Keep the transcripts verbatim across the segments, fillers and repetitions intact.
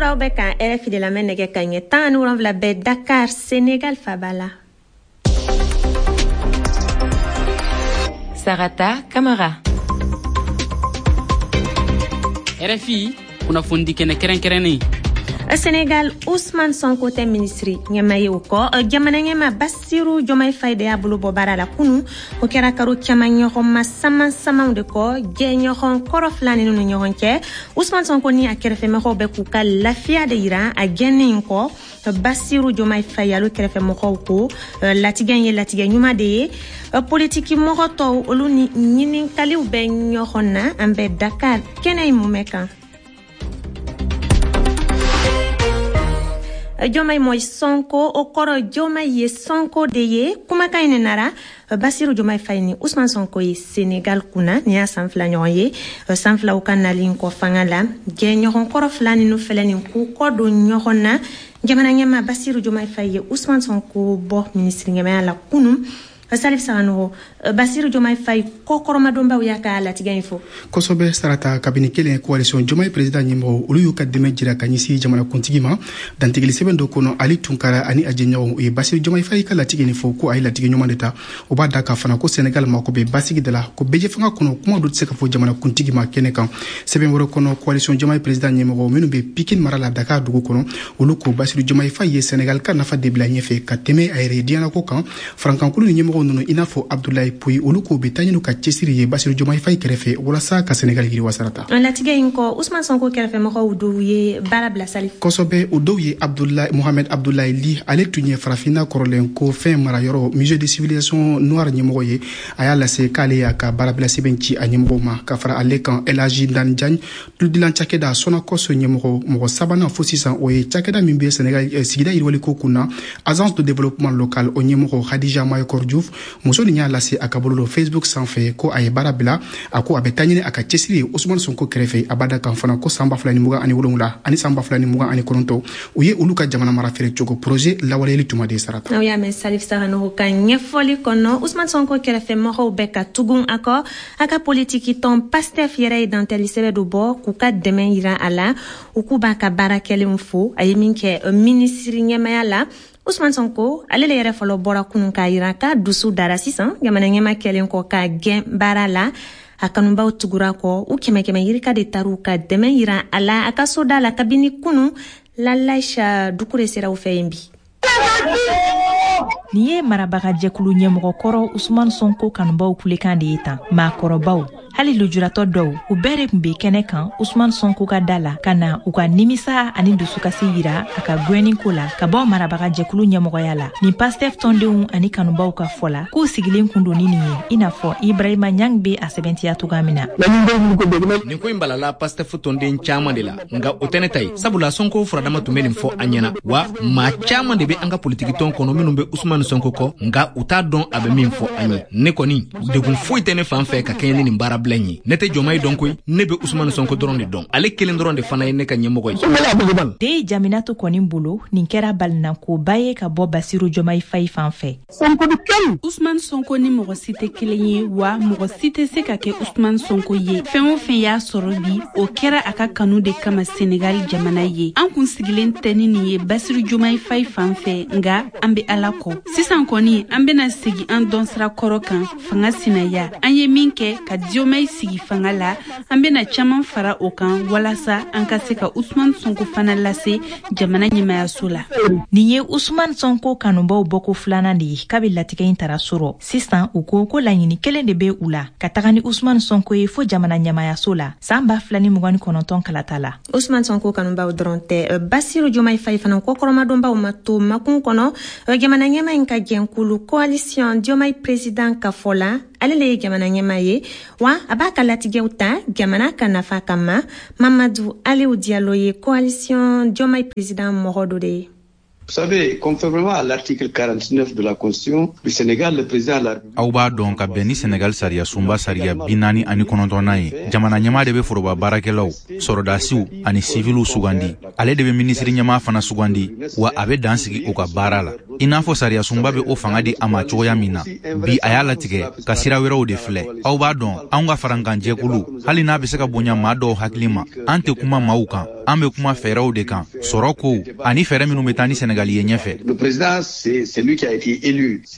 Kokura bɛ kan R F I de lamɛn. Nɛgɛ ka ɲɛ tan ani wolonwula bɛ Dakar, Senegal faba la. Sarata Kamara. R F I kunnafonidi kɛnɛ kɛrɛnkɛrɛnnen. Senegal, Ousmane Sonko tɛ minisiri ɲɛma ye. O kɔ, jamana ɲɛma Basiru Jomayi Fayi de y'a bolo bɔ baara la kunu. O kɛra karo caman ɲɔgɔnma saman samanw de kɔ jɛɲɔgɔn kɔrɔ fila ninnu ni ɲɔgɔn cɛ. Ousmane Sonko ni a kɛrɛfɛmɔgɔw bɛ k'u ka lafiya de yira a gɛnni in kɔ. Basiru Jomayi Fayi alo kɛrɛfɛmɔgɔw ko latigɛ ye latigɛ ɲuman de ye. Politiki mɔgɔ tɔw, olu ni ɲininkaliw bɛ ɲɔgɔn na. An bɛ Dakar kɛnɛ in mumɛ kan. Diomaye mooy Sonko, o kɔrɔ Diomaye ye Sonko de ye. Kumakan in nara Basiru Diomaye Faye ni Ousmane Sonko ye Senegal kunna. Nin y'a san fila ɲɔgɔn ye. San filaw ka nalen kɔ fanga la, jɛɲɔgɔn kɔrɔ fila ninnu filɛ nin k'u kɔ don ɲɔgɔn na. Jamana ɲɛma Basiru Diomaye Faye ye Ousmane Sonko bɔ minisiri ɲɛmaya la kunun. Salif Saganogo, Basiru Diomaye Faye kɔkɔrɔmadonbaw y'a ka latigɛ in fɔ. Kosɛbɛ Sarata. Kabini kelen, coalition Diomaye Président ɲɛmɔgɔ, olu y'u ka dɛmɛ jira ka ɲɛsin jamanakuntigi ma dantigɛli sɛbɛn dɔ kɔnɔ. Ali Tunkara ani a jɛɲɔgɔnw, u ye Basiru Diomaye Faye ka latigɛ nin fɔ ko a ye latigɛ ɲuman de ta. O b'a da ka fana ko Senegal mako bɛ basigi de la, ko bɛɛ fanga kɔnɔ, kuma dɔ tɛ se ka fɔ jamanakuntigi ma kɛnɛ kan. Sɛbɛn wɛrɛ kɔnɔ, coalition Diomaye Président ɲɛmɔgɔ minnu bɛ Pikine mara la, Dakar dugu kɔnɔ, olu ko Basiru Diomaye Faye ye Senegal ka nafa de bila ɲɛfɛ ka tɛmɛ a yɛrɛ diɲɛnako kan. Farankankulu ni ɲɛmɔgɔ ninnu, i n'a fɔ Abdoulaye Pouye, olu ko bɛ taa ɲini ka cɛsiri ye Basiru Diomaye Faye kɛrɛfɛ walasa ka Senegal yiriwa. Sarata. Latigɛ in kɔ, Ousmane Sonko kɛrɛfɛmɔgɔw dɔw ye baara bila, Salif. Kosɛbɛ. O dɔw ye Abdoulaye Mohamed Abdoulaye Ly, ale tun ye farafinna kɔrɔlen ko fɛn marayɔrɔ Musée de civilisation noire ɲɛmɔgɔ ye. A y'a lase k'ale y'a ka baarabila sɛbɛn ci a ɲɛmɔgɔw ma. Ka fara ale kan, El Hadji Dan Diagne, tuludilan cakɛda Sonacos ɲɛmɔgɔ. Mɔgɔ sabanan fo sisan, o ye cakɛda min bɛ Senegal sigida yiriwaliko kun na, Agence de développement local, o ɲɛmɔgɔ Khadija Mayakor Diouf. Muso nin y'a lase a ka bololo Facebook sanfɛ ko a ye baara bila. A ko a bɛ taa ɲini a ka cɛsiri ye Ousmane Sonko kɛrɛfɛ. A b'a da kan fana ko san ba fila ni mugan ani wolonwula ani san ba fila ni mugan ani kɔnɔntɔn, u ye olu ka jamana mara feere cogo projet lawaleyali tuma de. Sarata. Aw y'a mɛn Salif Saganogo ka ɲɛfɔli kɔnɔ. Ousmane Sonko kɛrɛfɛmɔgɔw bɛ ka tugun a kɔ. A ka politiki tɔn Pastef yɛrɛ ye dantɛli sɛbɛn dɔ bɔ k'u ka dɛmɛ yira a la. U k'u b'a ka baara kɛlenw fo, a ye min kɛ minisiri ɲɛmaya la. Ousmane Sonko ale le yɛrɛ fɔlɔ bɔra kunun k'a yira k'a dusu dara sisan jamana ɲɛma kɛlen kɔ k'a gɛn baara la. A kanubaw tugura kɔ, u kɛmɛ kɛmɛ yirika de tar'u ka dɛmɛ yira a la a ka soda la kabini kunu. Lalaisha Dukure sera u fɛ yen bi. Nin ye marabagajɛkulu ɲɛmɔgɔkɔrɔ Usman Sonko kanubaw kulekan de ye tan. Maakɔrɔbaw, hali lujuratɔ dɔw, u bɛɛ de tun be kɛnɛ kan Usman Sonko ka da la ka na u ka nimisa ani dusukasi yira a ka gwɛnni ko la ka bɔ marabagajɛkulu ɲɛmɔgɔya la. Nin Pastef tɔndenw ani kanubaw ka fɔ la, k'u sigilen kun don ni nin ye, i n'a fɔ Ibrahima Ɲang be a sɛbɛntiya cogoya min na. Nin ko in balala Pastef tɔnden caaman de la, nka o tɛ ne ta ye, sabula Sonko furadama tun be nin fɔ an ɲɛna wa. Maa caaman de be an ka politikitɔn kɔnɔ minnu be Usman Sonko kɔ, nka u t'a dɔn a bɛ min fɔ an ye. Ne kɔni, degun foyi tɛ ne fan fɛ ka kɛɲɛ ni nin baara bila in ye. Ne tɛ Jɔmayi dɔn koyi, ne bɛ Usman Sonko dɔrɔn de dɔn. Ale kelen dɔrɔn de fana ye ne ka ɲɛmɔgɔ ye. Den Jaminatu kɔni bolo, nin kɛra balinankoba ye ka bɔ Basiru Jɔmayi Fayi fan fɛ. Usman Sonko ni mɔgɔ si tɛ kelen ye wa, mɔgɔ si tɛ se ka kɛ Usman Sonko ye. Fɛn o fɛn y'a sɔrɔ bi, o kɛra a ka kanu de kama Senegal jamana ye. An kun sigilen tɛ ni nin ye Basiru Jomayi Fayi fan fɛ, nga an be Ala kɔ. Sisan kɔni, an bena segi an dɔnsira kɔrɔ kan, fanga sinaya. An ye min kɛ ka Diomaye sigi fanga la, an bena caaman fara o kan walasa an ka se ka Usman Sonko fana lase jamana ɲɛmayaso la. Nin ye Usman Sonko kanubaw bɔko filanan de ye kabi latigɛ in tara sɔrɔ. Sisan u ko ko laɲini kelen de be u la, ka taga ni Usman Sonko ye fo jamana ɲɛmayaso la san ba fila ni mugan ni kɔnɔntɔn kalata la. Usman Sonko kanubaw dɔrɔn tɛ, Basiru Jomayi Fayi fana kɔkɔrɔmadonbaw ma to makun kɔnɔ. Jamana ɲɛma in ka jɛnkulu coalition Diomaye Président ka fɔ la, ale le ye jamana ɲɛma ye wa, a b'a ka latigɛw ta jamana ka nafa kama. Mamadu Aliou Diallo ye coalition Diomaye Président mɔgɔ dɔ de ye. Vous savez, conformément à l'article quarante-neuf de la Constitution du Sénégal, le président de la République. Aw b'a dɔn, ka bɛn ni Senegal sariya sunba sariya bi naani ani kɔnɔntɔnnan ye, jamana ɲɛma de bɛ foroba baarakɛlaw, sɔrɔdasiw ani siviliw sugandi. Ale de bɛ minisiri ɲɛma fana sugandi wa, a bɛ dan sigi u ka baara la. I n'a fɔ sariyasunba bɛ o fanga di a ma cogoya min na, bi a y'a latigɛ ka sira wɛrɛw de filɛ. Aw b'a dɔn, anw ka farankanjɛkulu, hali n'a bɛ se ka bonya maa dɔw hakili ma, an tɛ kuma maaw kan, an bɛ kuma fɛɛrɛw de kan, sɔrɔ kow ani fɛɛrɛ minnu bɛ taa ni Senegali ye ɲɛfɛ.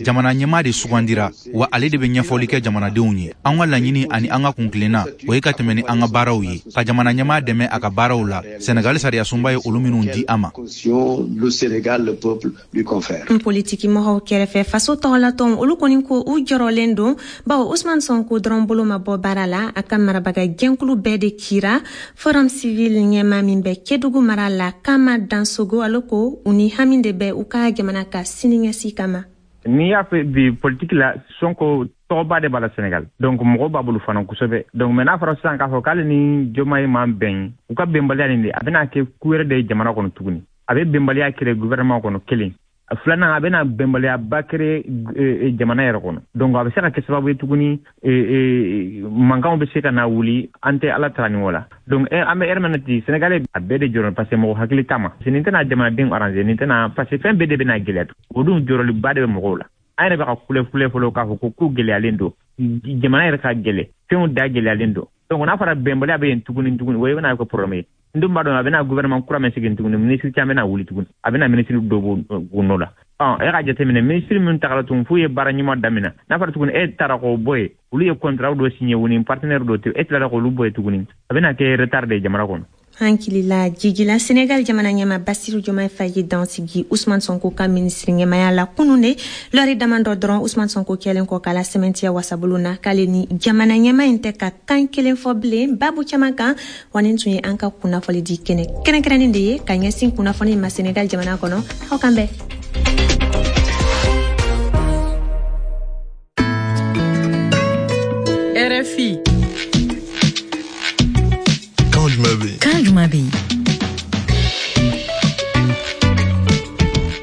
Jamana ɲɛmaa de sugandira, wa ale de bɛ ɲɛfɔli kɛ jamanadenw ye. An ka laɲini ani an ka kuntilenna, o ye ka tɛmɛ ni an ka baaraw ye, ka jamana ɲɛmaa dɛmɛ a ka baaraw la, Senegali sariyasunba ye olu minnu di a ma. Politiki mɔgɔw kɛrɛfɛ, faso tɔgɔlatɔnw olu kɔni ko u jɔrɔlen don, bawo Ousmane Sonko dɔrɔn bolo ma bɔ baara la, a ka marabaga jɛnkulu bɛɛ de kira. Forum Civil ɲɛma min bɛ Kedugu mara la, Kama Dansogo, ale ko u ni hami de bɛ u ka jamana ka siniɲɛsigi kama. N'i y'a fɛ bi politiki la, Sonko tɔgɔba de b'a la Senegal, donc mɔgɔw b'a bolo fana kosɛbɛ. Donc mais n'a fɔra sisan k'a fɔ k'ale ni Diomaye man bɛn, u ka bɛnbaliya nin de a bɛna kɛ ku wɛrɛ de ye jamana kɔnɔ tuguni. A bɛ bɛnbaliya créer gouvernement kɔnɔ kelen, filanan a bɛna bɛnbaliyaba créer jamana yɛrɛ kɔnɔ. Donc a bɛ se ka kɛ sababu ye tuguni mankanw bɛ se ka na wuli, an tɛ Ala tara nin o la. Donc an bɛ ɛri min na ten, Senegalais a bɛɛ de jɔrɔ parce que mɔgɔ hakili t'a ma. Nin tɛna jamanadenw arranger, nin tɛna, parce que fɛn bɛɛ de bɛna gɛlɛya. O dun jɔrɔliba de bɛ mɔgɔw la. An yɛrɛ bɛ ka kule kule fɔlɔ k'a fɔ ko ko gɛlɛyalen don, jamana yɛrɛ ka gɛlɛ, fɛnw da gɛlɛyalen don. Donc n'a fɔra bɛnbaliya bɛ yen tuguni tuguni, o bɛna kɛ problème ye. N dun b'a dɔn a bɛna gouvernement kura min sigi tuguni, ministre caman bɛna wuli tuguni, a bɛna ministre dɔ b'u nɔ la. Ɔn e ka jateminɛ, ministre min tagara tuguni f'u ye baara ɲuman daminɛ, n'a fɔra tuguni e taara k'o bɔ yen, olu ye contrat dɔ signé u ni partenaire dɔ tɛ, e tilara k'olu bɔ yen tuguni, a bɛna kɛ retard de ye jamana kɔnɔ. Hankilila jigila, Senegal jamana ɲɛma Basiru Diomaye Faye dansigi Ousmane Sonko ka minisiri ɲɛmaya la kunun de, lɔri damadɔ dɔrɔn Ousmane Sonko kɛlen kɔ k'a la sɛmɛntiya wasabulon na k'ale ni jamana ɲɛma in tɛ ka kan kelen fɔ bilen babu caman kan. Wa nin tun ye an ka kunnafoni di kɛnɛ kɛrɛnkɛrɛnnen de ye ka ɲɛsin kunnafoni ma Senegal jamana kɔnɔ. Aw kan bɛn. R F I. Kan jumɛn bɛ yen? Kan jumɛn bɛ yen?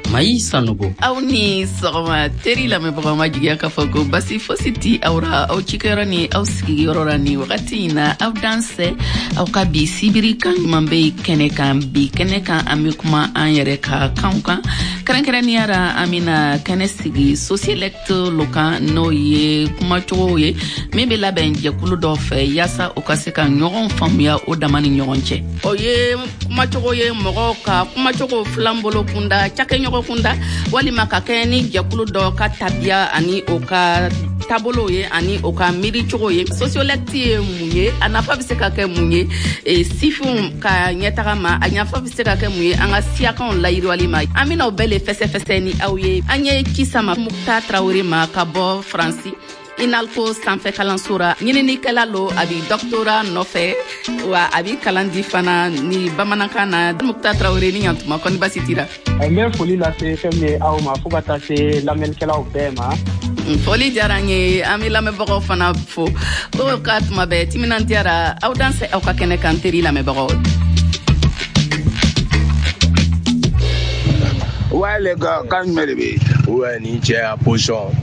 Mayi Sanogo. Aw ni sɔgɔma teri lamɛnbagaw, ma jigiya k'a fɔ ko basi fosi ti aw ra aw cikɛyɔrɔ ni aw sigiyɔrɔ la ni wagati in na. Aw dansɛ aw ka bi sibiri kan ɲuman bɛ kɛnɛ kan. Bi kɛnɛ kan an bɛ kuma an yɛrɛ ka kanw kan, kɛrɛnkɛrɛnnenya la an bɛna kɛnɛ sigi sociolecte lo kan, n'o ye kumacogow ye min bɛ labɛn jɛkulu dɔ fɛ yaasa u ka se ka ɲɔgɔn faamuya o dama ni ɲɔgɔn cɛ. O ye kumacogo ye mɔgɔw ka kumacogo filan bolo kunda, cakɛɲɔgɔn kunda, walima ka kɛ ni jɛkulu dɔ ka tabiya ani o ka taabolo ye ani o ka miiricogo ye. Sociolecte ye mun ye, a nafa bɛ se ka kɛ mun ye e, sifinw ka ɲɛtaga ma, a nafa bɛ se ka kɛ mun ye an ka siyakanw layiriwali ma. An bɛna o bɛɛ le fɛsɛfɛsɛ ni aw ye. An ye ci sama Mukta Tarawele ma ka bɔ Faransi INALCO sanfɛ kalanso ra, ɲininikɛla lo, a bi doctorat nɔfɛ wa a bi kalan di fana ni bamanankan na. Mukta Tarawele, ni ɲantuma, kɔni basi t'i ra? N bɛ foli lase fɛn min ye aw ma fo ka taa se lamɛnnikɛlaw bɛɛ ma. Foli diyara n ye, an bɛ lamɛnbagaw fana fo o ka tuma bɛɛ timinandiyara. Aw dansɛ aw ka kɛnɛ kan teri lamɛnbagaw. Ouais les gars, kan jumɛn de bɛ yen? Ouais, ni cɛ ya position.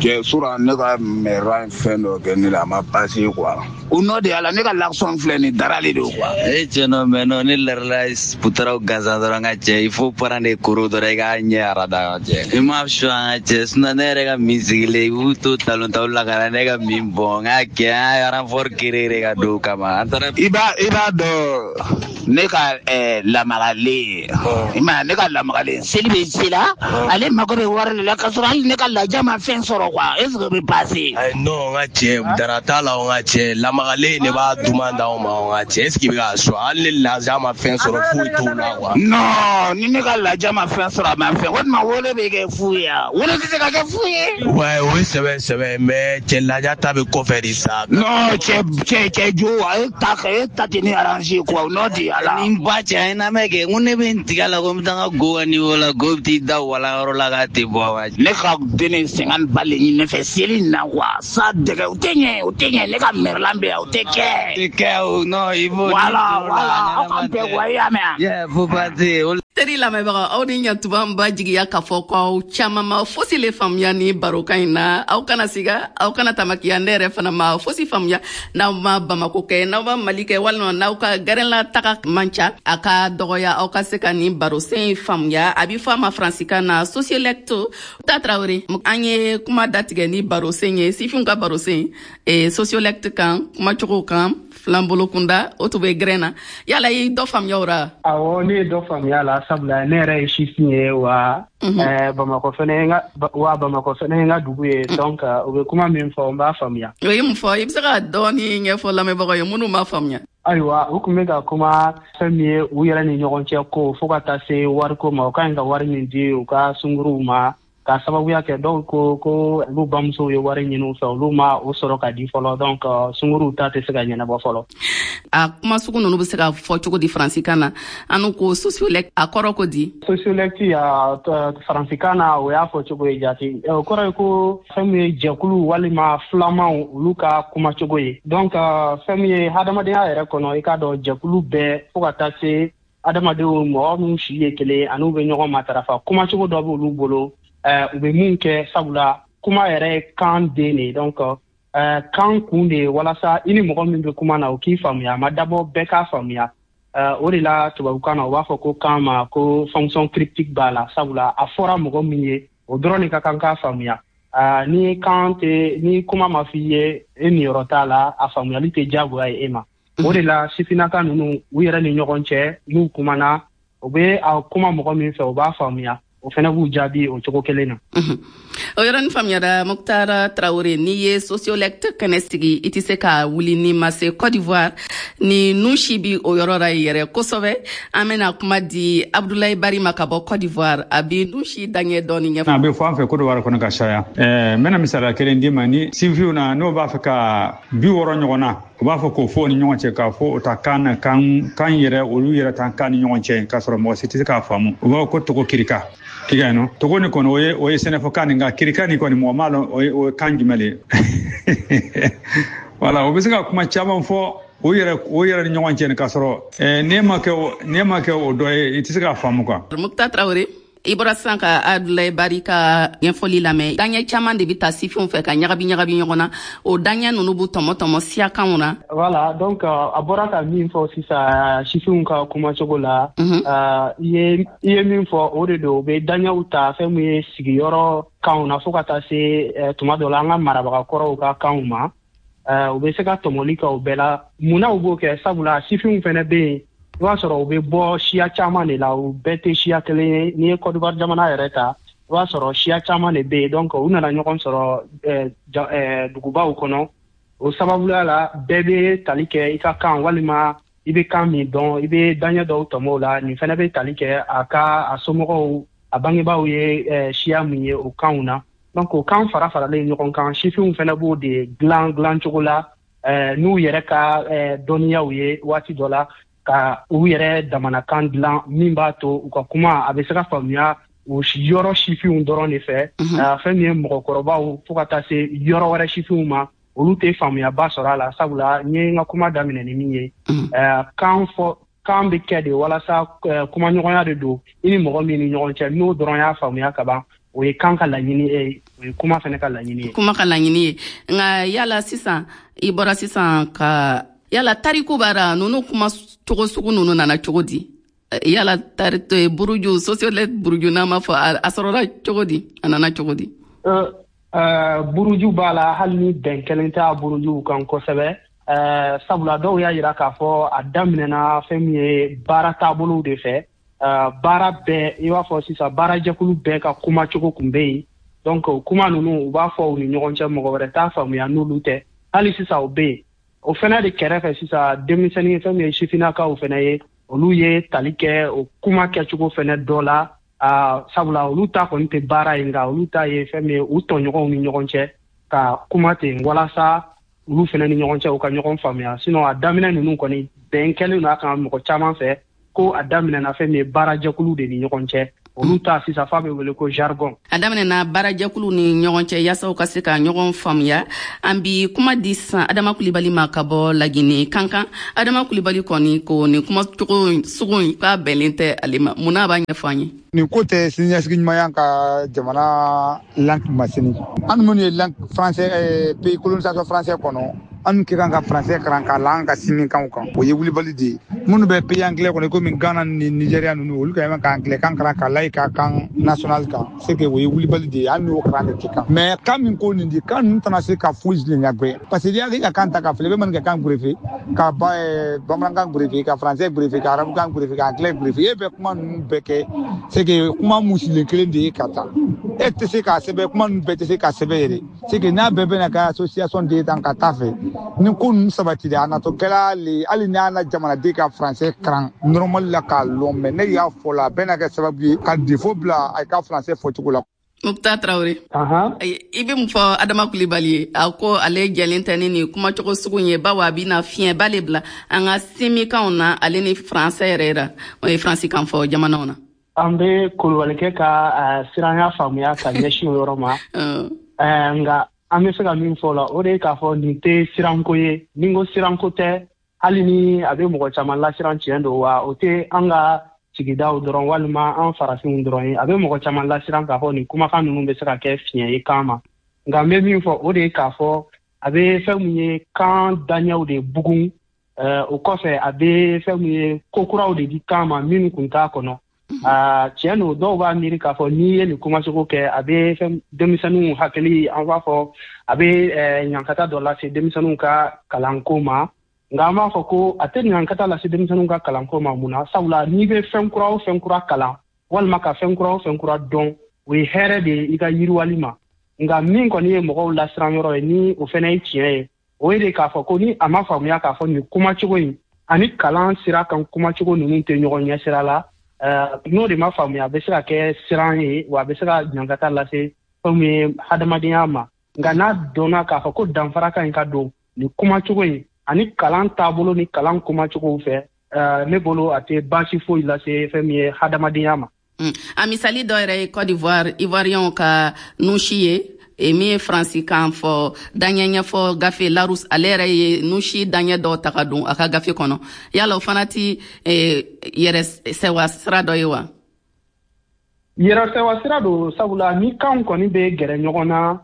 Cɛ sura ne ka mɛra fɛn dɔ kɛ ne la, a ma passé quoi. O nɔ de y'a la ne ka l'action filɛ nin daralen de quoi. E cɛ nɔ mais non, ne larila putaraw gansan dɔrɔn ka cɛ, il faut prendre des koro dɔrɔn i k'a ɲɛ arada ka cɛ. I m'a su an ka cɛ, sinon ne yɛrɛ ka min sigilen i b'u to talon taw la ka na ne ka min bɔn n k'a kɛ an ye renfort créer ka don o kama. An taara. I b'a i b'a dɔn ne ka ɛɛ lamagalen, i m'a ye, ne ka lamagalen seli bɛ se la, ale mako bɛ wari de la k'a sɔrɔ hali ne ka laja ma fɛn sɔrɔ quoi. Est-ce que bɛ passer? Ayi non, n ka cɛ dara t'a la, n ka cɛ lamagalen de b'a duman d'aw ma, n ka cɛ. Est-ce que i bɛ k'a sɔn? Hali ni laja ma fɛn sɔrɔ foyi t'o la quoi. Non, ni ne ka laja ma fɛn sɔrɔ a ma fɛn, o tuma wolo bɛ kɛ fu ye wa? Wolo tɛ se ka kɛ fu ye. Ouais, o ye sɛbɛ sɛbɛ, mais cɛ laja ta bɛ kɔfɛ de sa. Non, cɛ cɛ cɛ jo, e ta e ta tɛ ne arranger quoi, o nɔ de y'a la. Ni n ba cɛ, an ye lamɛn kɛ, n ko ne bɛ n tigɛ la ko n bɛ taa n ka go ka niveau la, go bɛ t'i da walan yɔrɔ la k'a tɛ bɔ wa. Ne ka den cinquante ba le ɲini ne fɛ seli in na quoi, sa dɛgɛ o tɛ ɲɛ, o tɛ ɲɛ, ne ka mɛrɛlan bɛ yan o tɛ kɛ. Tɛ kɛ o, non, il faut. Voilà, voilà, aw k'an bɛn quoi, i y'a mɛn wa? Yeah, faut pas dire. Teri lamɛnbagaw, aw ni ɲatuba. N ba jigiya k'a fɔ ko aw caman ma fosi le faamuya ni barokan in na. Aw kana siga, aw kana tamakiya, ne yɛrɛ fana ma fosi faamuya. N'aw ma Bamako kɛ, n'aw ma Mali kɛ, walima n'aw ka gɛrɛnla taga man ca, a ka dɔgɔya aw ka se ka nin barosen faamuya. A bi fɔ a ma faransikan na sociolecte. Ta Tarawele, an ye kuma datigɛ ni barosen ye, sifinw ka barosen e sociolecte kan, kumacogo kan filan bolo kunda, o tun bɛ gɛrɛn na. Yala i dɔ faamuya o ra? Awɔ, ne ye dɔ faamuya la, sabula ne yɛrɛ ye sifin ye wa Bamakɔ fɛnɛ wa Bamakɔ fɛnɛ ye n ka dugu ye. Donc u bɛ kuma min fɔ, n b'a faamuya. O ye mun fɔ? I bɛ se ka dɔɔni ɲɛfɔ lamɛnbagaw ye minnu m'a faamuya. Ayiwa, u tun bɛ ka kuma fɛn min ye u yɛrɛ ni ɲɔgɔn cɛ ko fo ka taa se wariko ma, u ka ɲi ka wari min di u ka sunkuruw ma, ka sababuya kɛ dɔw ko ko olu bamusow ye wari ɲini u fɛ, olu ma o sɔrɔ ka di fɔlɔ, donc sunkuruw ta tɛ se ka ɲɛnabɔ fɔlɔ. A kuma sugu ninnu bɛ se ka fɔ cogo di faransikan na? An ko sociolecte, a kɔrɔ ko di? Sociolecte faransikan na, o y'a fɔ cogo ye jate, o kɔrɔ ye ko fɛn min ye jɛkulu walima filamanw olu ka kumacogo ye. Donc fɛn min ye hadamadenya yɛrɛ kɔnɔ, i k'a dɔn jɛkulu bɛɛ fo ka taa se adamadenw, mɔgɔ minnu si ye kelen ani bɛ ɲɔgɔn matarafa, kumacogo dɔ b'olu bolo u bɛ mun kɛ, sabula kuma yɛrɛ ye kan den de. Donc kan kun de ye walasa i ni mɔgɔ min bɛ kuma na, o k'i faamuya, a ma dabɔ bɛɛ k'a faamuya. O de la tubabukan na u b'a fɔ ko kan ma ko fonction cryptique b'a la, sabula a fɔra mɔgɔ min ye, o dɔrɔn de ka kan k'a faamuya. Ni kan tɛ, ni kuma ma f'i ye, e niyɔrɔ t'a la, a faamuyali tɛ diyagoya ye e ma. O de la sifinnaka ninnu, u yɛrɛ ni ɲɔgɔn cɛ, n'u kumana, u bɛ a kuma mɔgɔ min fɛ, o b'a faamuya, o fana b'u jaabi o cogo kelen na. O yɔrɔnin faamuyara. Mukutara Tarawele, n'i ye sociolecte kɛnɛ sigi, i tɛ se ka wuli ni ma se Côte d'Ivoire ni nu si bi o yɔrɔ la yɛrɛ kosɛbɛ. An bɛna kuma di Abdoulaye Bari ma ka bɔ Côte d'Ivoire, a bi nu si daɲɛ dɔɔni ɲɛfɔ. A bɛ fɔ an fɛ Côte d'Ivoire kɔnɔ ka caya. Ɛɛ n bɛna misaliya kelen d'i ma. Ni sifinw na, n'o b'a fɛ ka bi wɔɔrɔ ɲɔgɔn na, u b'a fɔ k'o fɔ ni ɲɔgɔn cɛ, k'a fɔ o ta kan na, kan kan yɛrɛ, olu yɛrɛ tan kan ni ɲɔgɔn cɛ, k'a sɔrɔ mɔgɔ si tɛ se k'a faamu. U b'a fɔ ko togo kirika. I ka nɔ togo ni kɔni, o ye o ye sɛnɛfɔkan nin, nka kirika nin kɔni, mɔgɔ m'a dɔn o ye o ye kan jumɛn de ye. Wala o bɛ se ka kuma caman fɔ o yɛrɛ o yɛrɛ ni ɲɔgɔn cɛ, k'a sɔrɔ n'e ma kɛ n'e ma kɛ o dɔ ye, i tɛ se k'a faamu quoi. Mukta Tarawele, i bɔra sisan ka Abdoulaye Bari ka ɲɛfɔli lamɛn. Daɲɛ caman de bɛ ta sifinw fɛ ka ɲagabi ɲagabi ɲɔgɔn na, o daɲɛ ninnu b'u tɔmɔ tɔmɔ siyakanw na. Voilà, donc a bɔra ka min fɔ sisan sifinw ka kumacogo la, i ye i ye min fɔ, o de don. U bɛ daɲɛw ta fɛn min ye sigiyɔrɔ kanw na fo ka taa se tuma dɔ la an ka marabagakɔrɔw ka kanw ma, u bɛ se ka tɔmɔli kɛ o bɛɛ la. Munna u b'o kɛ? Sabula sifinw fɛnɛ bɛ yen, i b'a sɔrɔ u bɛ bɔ siya caman de la, u bɛɛ tɛ siya kelen ye. N'i ye Côte d'Ivoire jamana yɛrɛ ta, i b'a sɔrɔ siya caman de bɛ yen. Donc u nana ɲɔgɔn sɔrɔ dugubaw kɔnɔ, o sababuya la bɛɛ bɛ tali kɛ i ka kan walima i bɛ kan min dɔn, i bɛ daɲɛ dɔw tɔmɔ o la. Nin fɛnɛ bɛ tali kɛ a ka a somɔgɔw, a bangebaaw ye siya min ye, o kanw na. Donc o kan fara faralen ɲɔgɔn kan, sifinw fɛnɛ b'o de dilan dilan cogo la n'u yɛrɛ ka dɔnniyaw ye waati dɔ la, ka u yɛrɛ damanakan dilan min b'a to u ka kuma a bɛ se ka faamuya o yɔrɔ sifinw dɔrɔn de fɛ. Fɛn min ye mɔgɔkɔrɔbaw fo ka taa se yɔrɔ wɛrɛ sifinw ma, olu tɛ faamuyaba sɔrɔ a la, sabula n ye n ka kuma daminɛ ni min ye, kan fɔ kan bɛ kɛ de walasa kumaɲɔgɔnya de don i ni mɔgɔ min ni ɲɔgɔn cɛ, n'o dɔrɔn y'a faamuya ka ban, o ye kan ka laɲini ye, o ye kuma fɛnɛ ka laɲini ye. Kuma ka laɲini ye. Nka yala sisan, i bɔra sisan ka yala tariku b'ara ninnu kuma cogo sugu ninnu nana cogo di? Yala tari buruju sociolecte buruju n'a ma fɔ, a sɔrɔla cogo di, a nana cogo di? Buruju b'a la, hali ni bɛn kelen t'a burujuw kan kosɛbɛ, sabula dɔw y'a yira k'a fɔ a daminɛna fɛn min ye baara taabolow de fɛ. Baara bɛɛ, i b'a fɔ sisan baarajɛkulu bɛɛ ka kumacogo kun bɛ yen. Donc o kuma ninnu, u b'a fɔ u ni ɲɔgɔn cɛ, mɔgɔ wɛrɛ t'a faamuya n'olu tɛ. Hali sisan o bɛ yen. O fɛnɛ de kɛrɛfɛ sisan, denmisɛnnin fɛn min ye sifinnakaw fɛnɛ ye, olu ye tali kɛ o kuma kɛcogo fɛnɛ dɔ la, sabula olu ta kɔni tɛ baara ye, nka olu ta ye fɛn min ye u tɔɲɔgɔnw ni ɲɔgɔn cɛ ka kuma ten walasa olu fɛnɛ ni ɲɔgɔn cɛ u ka ɲɔgɔn faamuya. Sinon a daminɛ ninnu kɔni, bɛn kɛlen don a kan mɔgɔ caman fɛ ko a daminɛna fɛn min ye baarajɛkulu de ni ɲɔgɔn cɛ. Olu ta sisan f'a bɛ wele ko jargon. A daminɛna baarajɛkulu ni ɲɔgɔn cɛ yaasa u ka se ka ɲɔgɔn faamuya. An bi kuma di sisan Adama Kulibali ma ka bɔ Lagine Kankan. Adama Kulibali kɔni ko nin kumacogo sugu in k'a bɛnlen tɛ ale ma. Mun na, a b'a ɲɛfɔ an ye? Nin ko tɛ siniɲɛsigi ɲumanya ka jamana langue ma sini. An minnu ye langue français, pays colonisation français kɔnɔ, an ka kan ka français karan k'a la an ka sini kanw kan, o ye wulibali de ye. Minnu bɛ pays anglais kɔnɔ, komi Ghana ni Nigeria ninnu, olu ka kan ka anglais kan karan k'a la i ka kan national kan, c'est que o ye wulibali de ye. Hali n'o karan de tɛ kan, mais kan min ko nin di, kan ninnu tɛna se ka foyi ɲɛgbɛ, parce que n'i y'a ka kan ta ka filɛ, i bɛ maninka kan gerefe, ka ba bamanankan gerefe, ka français gerefe, ka arabukan gerefe, ka anglais gerefe, e bɛ kuma ninnu bɛɛ kɛ, c'est que kuma musilen kelen de ye ka taa. E tɛ se k'a sɛbɛn, kuma ninnu bɛɛ tɛ se ka sɛbɛn yɛrɛ. C'est que n'a bɛɛ bɛna kɛ association de ye tan ka taa fɛ, ni ko ninnu sabatira, a natɔ kɛra le, hali n'a na jamanaden ka français karan normal la k'a lɔn, mais ne y'a fɔ la, a bɛna kɛ sababu ye ka défaut bila a ka français fɔcogo la. Muktar Traoré, i bɛ mun fɔ Adama Kulibali ye? A ko ale jɛlen tɛ ni nin kumacogo sugu ye, bawo a bɛna fiɲɛba le bila an ka simikanw na, ale ni français yɛrɛ la, o ye faransi kan fɔ jamanaw na. An bɛ Kulubalikɛ ka siranya faamuya ka ɲɛsin o yɔrɔ ma, nka an bɛ se ka min fɔ o la, o de ye k'a fɔ nin tɛ siranko ye. Ni n ko siranko tɛ, hali ni a bɛ mɔgɔ caman lasiran, tiɲɛ don wa, o tɛ an ka sigidaw dɔrɔn walima an farafinw dɔrɔn ye. A bɛ mɔgɔ caman lasiran k'a fɔ nin kumakan ninnu bɛ se ka kɛ fiɲɛ ye kan ma. Nka n bɛ min fɔ, o de ye k'a fɔ a bɛ fɛn min ye kan daɲɛw de bugun. O kɔfɛ, a bɛ fɛn min ye ko kuraw de di kan ma minnu kun t'a kɔnɔ. Tiɲɛ don, dɔw b'a miiri k'a fɔ n'i ye nin kumacogo kɛ, a bɛ fɛn denmisɛnninw hakili, an b'a fɔ a bɛ ɲankata dɔ lase denmisɛnninw ka kalanko ma. Nka an b'a fɔ ko a tɛ ɲankata lase denmisɛnninw ka kalanko ma. Mun na? Sabula n'i bɛ fɛn kura o fɛn kura kalan, walima ka fɛn kura o fɛn kura dɔn, o ye hɛrɛ de ye i ka yiriwali ma. Nka min kɔni ye mɔgɔw lasiran yɔrɔ ye, ni o fana ye tiɲɛ ye, o ye de k'a fɔ ko ni a ma faamuya k'a fɔ nin kumacogo in ani kalan sira kan kumacogo ninnu tɛ ɲɔgɔn ɲɛ sira la, n'o de ma faamuya, a bɛ se ka kɛ siran ye, wa a bɛ se ka ɲankata lase fɛn min ye hadamadenya ma. Nka n'a dɔnna k'a fɔ ko danfara ka ɲi ka don nin kumacogo in ani kalan taabolo ni kalan kumacogow fɛ, ne bolo a tɛ baasi foyi lase fɛn min ye hadamadenya ma. A misali dɔ yɛrɛ ye Côte d'Ivoire, Ivoiriyɛnw ka nusi ye min ye faransi kan fɔ daɲɛ ɲɛfɔ gafe Larousse, ale yɛrɛ ye nusi daɲɛ dɔw ta ka don a ka gafe kɔnɔ. Yala o fana ti yɛrɛ sɛwa sira dɔ ye wa? Yɛrɛ sɛwa sira don, sabula ni kanw kɔni bɛ gɛrɛ ɲɔgɔn na,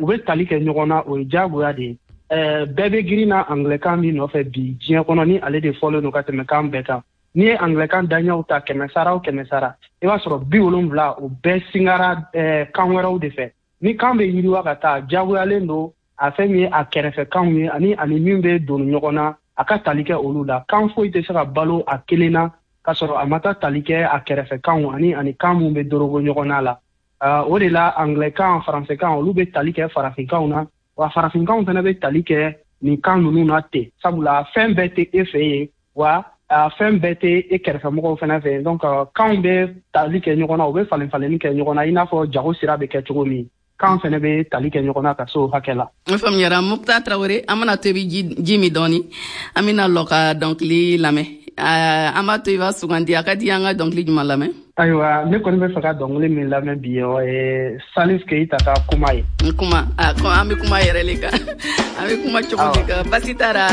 u bɛ tali kɛ ɲɔgɔn na, o ye diyagoya de ye. Bɛɛ bɛ girin na anglais-kan min nɔfɛ bi diɲɛ kɔnɔ, ni ale de fɔlen don ka tɛmɛ kan bɛɛ kan. N'i ye anglais-kan daɲɛw ta kɛmɛ sara o kɛmɛ sara, i b'a sɔrɔ bi wolonwula o bɛɛ singara kan wɛrɛw de fɛ. Ni kan bɛ yiriwa ka taa, diyagoyalen don a fɛn min ye a kɛrɛfɛ kanw ye ani ani min bɛ don ɲɔgɔn na, a ka tali kɛ olu la. Kan foyi tɛ se ka balo a kelen na k'a sɔrɔ a ma taa tali kɛ a kɛrɛfɛ kanw ani ani kan mun bɛ dorogo ɲɔgɔn na la. O de la anglais kan, français kan, olu bɛ tali kɛ farafinkanw na, wa farafinkanw fana bɛ tali kɛ nin kan ninnu na ten, sabula fɛn bɛɛ tɛ e fɛ yen, wa fɛn bɛɛ tɛ e kɛrɛfɛmɔgɔw fana fɛ yen. Donc kanw bɛ tali kɛ ɲɔgɔn na, u bɛ falen falenni kɛ ɲɔgɔn na, i n'a fɔ jago sira bɛ kɛ cogo min, kan fana bɛ tali kɛ ɲɔgɔn na ka se o hakɛ la. N faamuyara. Muktar Traoré, an mana to i bɛ ji min dɔɔni, an bɛna lɔ ka dɔnkili lamɛn. An b'a to i b'a sugandi, a ka di an ka dɔnkili jumɛn lamɛn? Ayiwa, ne kɔni bɛ fɛ ka dɔnkili min lamɛn bi, o ye Salif Keita ka kuma ye. Kuma, an bɛ kuma yɛrɛ le kan, an bɛ kuma cogo de kan, basi t'a la.